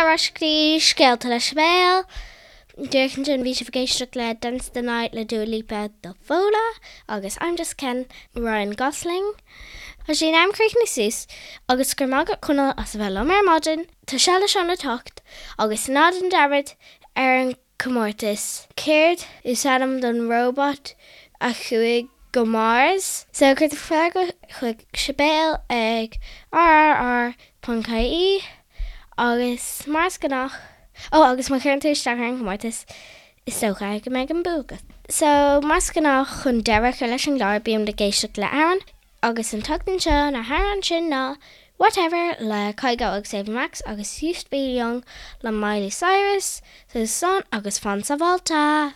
ar ais go dtí Scéalta le Sibéal. Díreach ansin bhí sibh ag éisteacht le Dance the Night le Dua Lipa do Fódhla agus I'm Just Ken, Ryan Gosling. Tá sé in am críochnú suas agus go raibh maith agat Conall as a bheith liom ar maidin. Tá Seal le Seán le teacht agus ná déan dearmad ar an comórtas. Céard is ainm don róbat a chuaigh go Mars? So cuir do freagra chuig Sibéal ag rrr ponc ie agus mar is gnách, ó agus má chuireann tú isteach ar an gcomórtas is dócha go mbeidh an bua agat. So mar is gnách chun deireadh a chur leis an gclár bíonn ag éisteacht le amhrán agus an tseachtain seo na hamhráin sin ná Whatever le Kygo agus Ava Max agus Used to Be Young le Miley Cyrus. So slán agus fan sábháilte!